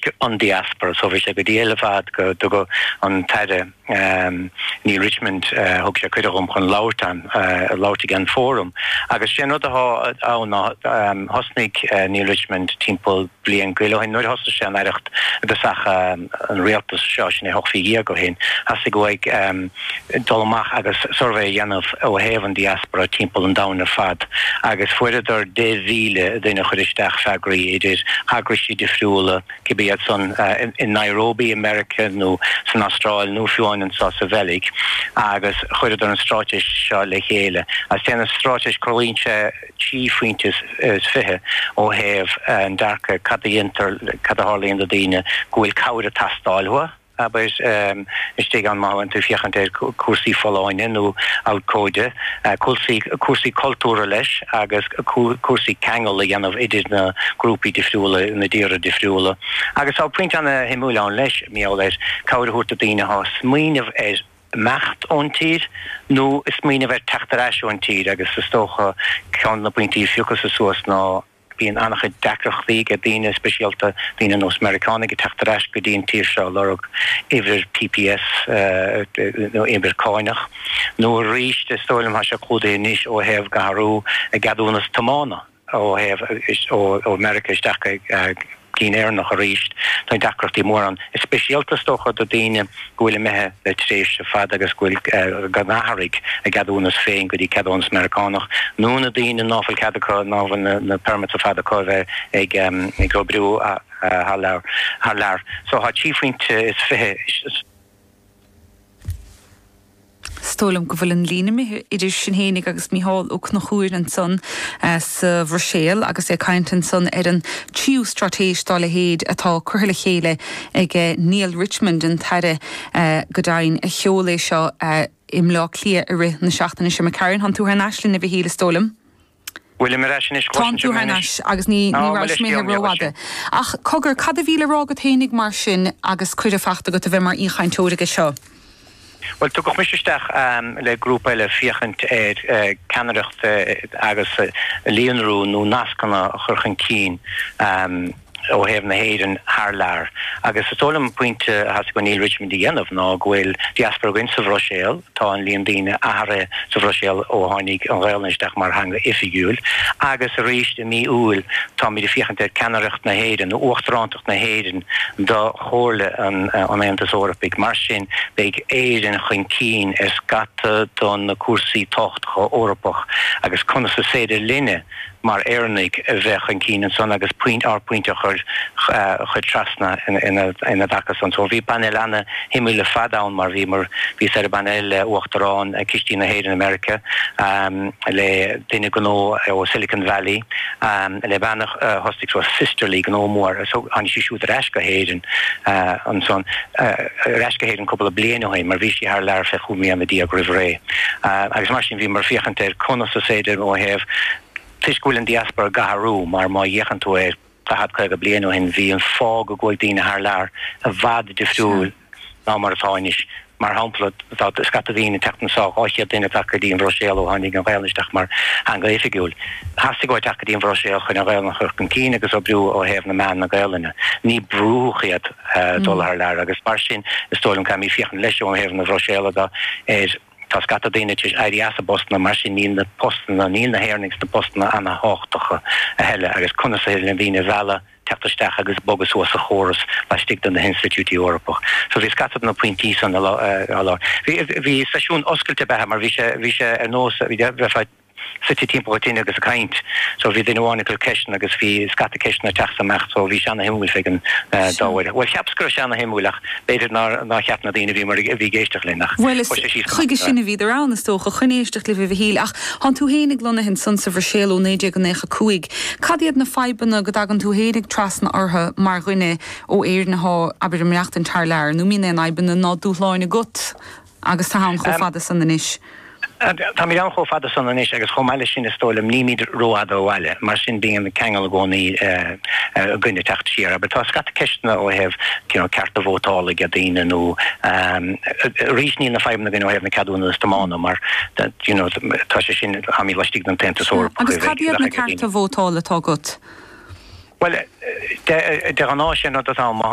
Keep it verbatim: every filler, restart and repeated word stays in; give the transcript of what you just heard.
toisc an diaspora so bhí sé go diail ar fad go dtugadh an tAire um, Neale Richmond uh, thug sé cuireadh dom chun labhairt an uh, labhairt ag an fórum. Agus sin rud atá ann um, thosnaigh uh, Neale Richmond timpeall bliain go leith nuair thosaigh sé an aireacht agus ach um, an rialtas seo sin é hocht mhí déag ó shin thosaigh go ag um, dul amach agus suirbhé a dhéanamh ó thaobh an diaspora timpeall an domhain ar fad agus fuaireadar deich mhíle duine chuir isteach freagraí idir eagraisí difriúla cibé iad san uh, in, in Nairobi America nó san Astráil nó fiú amháin anseo sa Bheilg agus chuireadar an straitéis seo le chéile. As té an straitéis clúdaíonn sé trí phointe is fiche ó thaobh an dearcadh cad a dhéantar cad a tharlaíonn do daoine go bhfuil cabhair ag teastáil uathu. Aber um, istigh an má tú féachann ar cúrsaí folláine nó abhcóide, cúrsaí cúrsaí cultúrtha leis agus cúrsaí ceangal a dhéanamh idir na grúpaí difriúla na tíortha difriúla. Agus tá pointe an-shuimiúil ann leis mí leis cabhair a thabhairt do daoine atá ag smaoineamh ar imeacht ón tír nó ag smaoineamh ar teacht ar ais ón tír agus is dócha ceann na pointí a phiocadh suas ná bíonn an-chuid deacrachtaí ag daoine speisialta daoine nós Meiriceánaigh ag teacht ar ais go dtí an tír seo lorg uimhir PPS nó uimhir cánach. Nó arís is dóigh liom tá sé clúdaithe anois ó thaobh athrú a gceadúnas tiomána ó thaobh ó America isteach cinn Éireannach arís tá deacrachtaí mór ann. Is speisialta is dócha do daoine go bhfuil imithe le tréimhse fada agus go bhfuil go n-athraigh a gceadúnas féin go dtí ceadúnas Meiriceánach. Nó na daoine nach bhfuil cead acu ná na, na permits fada acu bheith ag um, ag oibriú thar lear thar lear. So tá trí phointe is fiche Is dóigh liom go bhfuil an líne idir sinn fhéinig agus Mícheál Ó Conchúir ansan sa Bhruiséil agus é ag caint ansan ar an tríú straitéis dá leithéid atá curtha le chéile ag Neale Richmond an tAire go deimhin a sheol é seo i mBleá Cliath i rith na seachtaine seo McCarran thánn tú thar n-ais linn a Mhichíl is dóigh liom. Bhfuil mar sin Tá tú thar n-ais agus ní ní mé rófhada. Ach cogar cad a bhí le rá agat fhéinig mar sin agus cuireadh faighte agat a bheith mar aoichainteoir aige seo. Well tugadh mise isteach um, le grúpa eile féachaint ar uh, ceannaireacht uh, agus uh, líonrú nó nascanna a chur chun cinn um, ó thaobh na hÉireann thar lear. Agus is dóigh liom pointe a theastaigh ó Neale Richmond a dhéanamh ná go bhfuil diaspora againn sa Bhruiséil tá an líon daoine athraithe sa Bhruiséil ó tháinig an Ghaeilge isteach mar theanga oifigiúil, agus arís i mí Iúil táimid ag féachaint ar ceannaireacht na hÉireann nó uachtarántacht na hÉireann do Chomhairle an, an Aontais Eorpaigh. Mar sin beidh Éirinn chun cinn ar scata do na cúrsaí tábhachtacha Eorpach agus conas is féidir linne mar Éireannaigh a bheith chun cinn ansan agus point ár bpointe a chur chur trasna ina ina dtaca san. So bhí panel an-shuimiúil ar fad ann mar bhí mar bhí ar an bpanel le uachtarán Cistí na hÉireann America um, le duine gnó ó Silicon Valley um, le bean uh, thosaigh so Sisterly gnó mór so tháinig sí siúd ar ais go hÉirinn uh, ansan uh, ar ais go hÉirinn cúpla bliain ó shin mar bhí sí thar lear fe chúig mbliana déag roimh ré. Uh, agus mar sin bhí mar féachaint ar conas is féidir ó thaobh toisc go bhfuil an diaspora ag athrú mar má fhéachann tú ar daichead caoga bliain ó shin bhí an fáth go gcuaigh daoine thar lear i bhfad difriúil ná mar atá anois. Mar shampla tá scata daoine teacht anseo dhá chéad duine teacht go dtí an Bhruiséil ó tháinig an Ghaeilge isteach mar theanga oifigiúil. Theastaigh uathu teacht go dtí an Bhruiséil chun an Ghaeilge a chur chun cinn agus oibriú ó thaobh na meán na Gaelainne. Ní brúdh iad dul thar lear agus mar sin is dóigh liom caithfimid féachaint leis ó thaobh na Bruiséile de ar tá scata daoine tar éis éirí as a bpostanna mar sin níl na postanna níl na hÉireannaigh sna postanna an-tábhachtacha a thuilleadh agus conas is féidir le daoine a mhealladh teacht isteach agus bogadh suas sa chóras laistigh de na hinstitiúidí Eorpach. So bhí scata na pointí san lá. Bhí seisiún oscailte bethe mar bhí sé bhí sé ar nós bhí bheith suite timpeall tine agus ag caint. So bhí duine amháin ag cur ceisteanna agus bhí scata ceisteanna ag teacht amach so bhí sé an-shuimiúil fé an dá Well cheapas go raibh sé an-shuimiúil ach b'fhéidir nár ná cheap na daoine bhí mar a bhí ag éisteacht linn ach Well chuige sin a bhíodar ann is dócha chun éisteacht libh a Mhichíl ach thánn tú fhéinig lonnaithe ansan sa Bhruiséil ó naoi déag nócha cúig. Cad iad na fadhbanna go dtagann tú fhéinig trasna orthu mar dhuine ó Éirinn atá abair ag maireachtaint thar lear, nó mbíonn aon fhadhbanna ná dúshláin agat agus tú ann chomh fada san anois. Tá mé ann chomh fada san anois agus chomh maith leis sin is dóigh liom nílimid rófhada ó bhaile, mar sin bíonn ceangal i gcónaí againne teacht siar, aber tá scata ceisteanna ó thaobh cearta vótála ag daoine nó arís níl na fadhbanna againn ó thaobh na ceadúnas tiomána mar you know, tá sé sin táimid laistigh den tAontas Eorpach. Agus cad iad na cearta vótála atá agat? Well de de ghnáth sin rud atá